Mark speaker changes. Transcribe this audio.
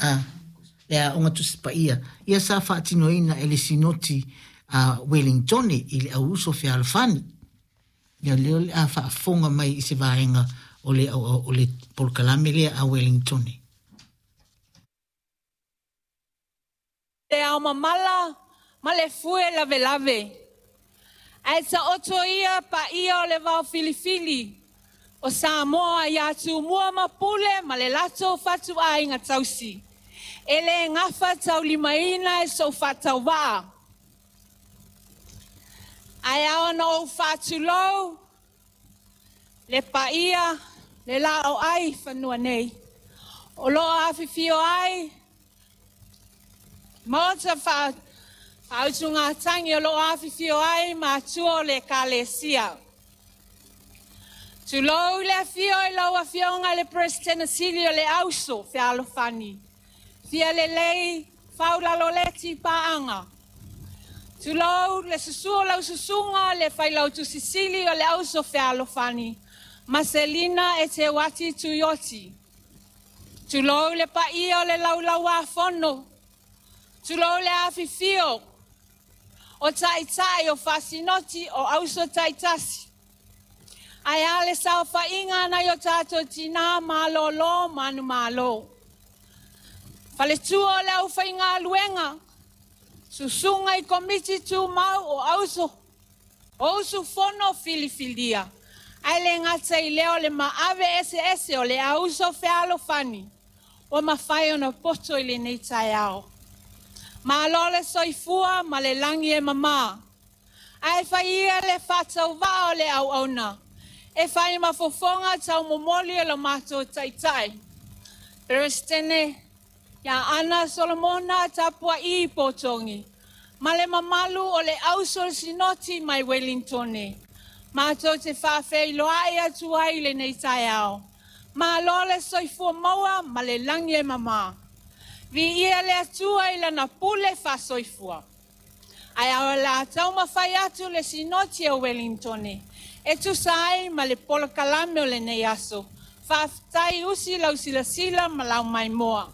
Speaker 1: A, le Aoga Tusi Paia, ia sa faatinoina e le Sinoti a Welingtone i le Auuso Fealofani. Ia lea o le a faafofoga mai i se vaega o le, o le polokalame lea a Welingtone.
Speaker 2: Le ao mamala ma le fue lavelave. Ae taoto ia paia o le vao filifili o Samoa ia Tumua ma Pule ma le latou fatuaiga tausi. E le gafa taulimaina e sou faatauvaa. Ae ao ona ou faatulou le paia le laoai fanua nei. O lo o afifio ai Maota faautugatagi o lo o afifio ai matua o le Ekalesia. Tulou le afio i lau Afioga i le Peresetene Sili o le Auso Fealofani, Fia Lelei Faulaloleti Paaga. Tulou le susu o lau susuga le Failautusi Sili o le Auso Fealofani, Maselina Eteuati Tuioti. Tulou le paia o le Laulau-a-Fono, tulou le afifio o taitai o faasinoti o auso taitasi. Ae a le saofaiga a nai o tatou tinā malōlō manumalo. Faletua o le aufaigaluega, susuga i komiti tumau o auso o usufono filifilia, ae le gata i lea o le maave eseese o le auso fealofani ua mafai ona poto i lenei taeao. Malo le soifua ma le lagi e mama. Ae fai ia le faatauvaa o le auauna e fai ma fofoga taumomoli o lo matou taitai. Peresetene ia Ana Solomona Tapua'i Potogi ma le mamalu o le auso sinoti mai Welingtone. Matou te faafeiloai atu ai i lenei taeao. Malo le soifua maua ma le lagi e mama. Viia le Atua i lana pule faasoifua. Ae o le a taumafai atu le Sinoti o Welingtone e tusa ai ma le polokalame o lenei aso. Faafetai usi lau silasila ma lau maimoa.